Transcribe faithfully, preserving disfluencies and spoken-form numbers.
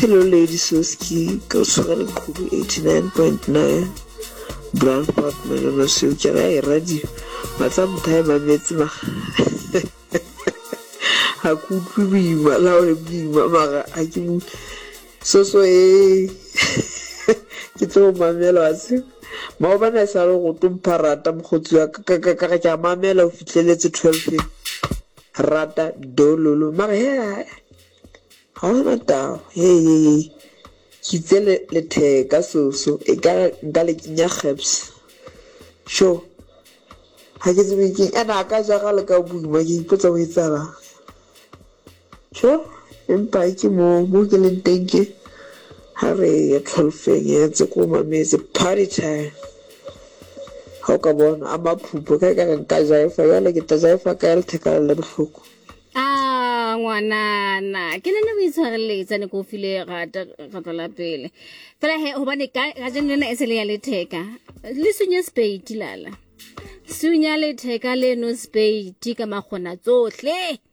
Hello Lady Soski, ke o tshwara leqhubu eighty-nine point nine Brandfort Malome Seo ke re e radio matsa motho a e mametse ma ha ke utlwe boima la o le boima mara ha ke mo soso e ke tlo mamela wa tseba maobane a sa le go tlo mpha rata mokgotsi wa ka ka ka ke a mamela o fihleletse twelve rata dololo mara he ga gona taba he he he ke itse letheka soso e ka nka le kenya gaps sure ga ke tsebe keng ene a ka jaga le ka boima ke ipotsa go etsalang sure empa ke mo mo ke leng teng ke ha re ya twelve-eng ya tse ko mametse party time ga o ka bona a maphupho ka ka re nka jaifa jale ke tla jaifa ka letheka le bohloko. A ngwanana ke nne o itshwareletsa ne ke o file rata kgetlo la pele fela he hobane ka kajeno lena e se le ya letheka le sunye spade lala sunya letheka leno spade ka makgona tsohle.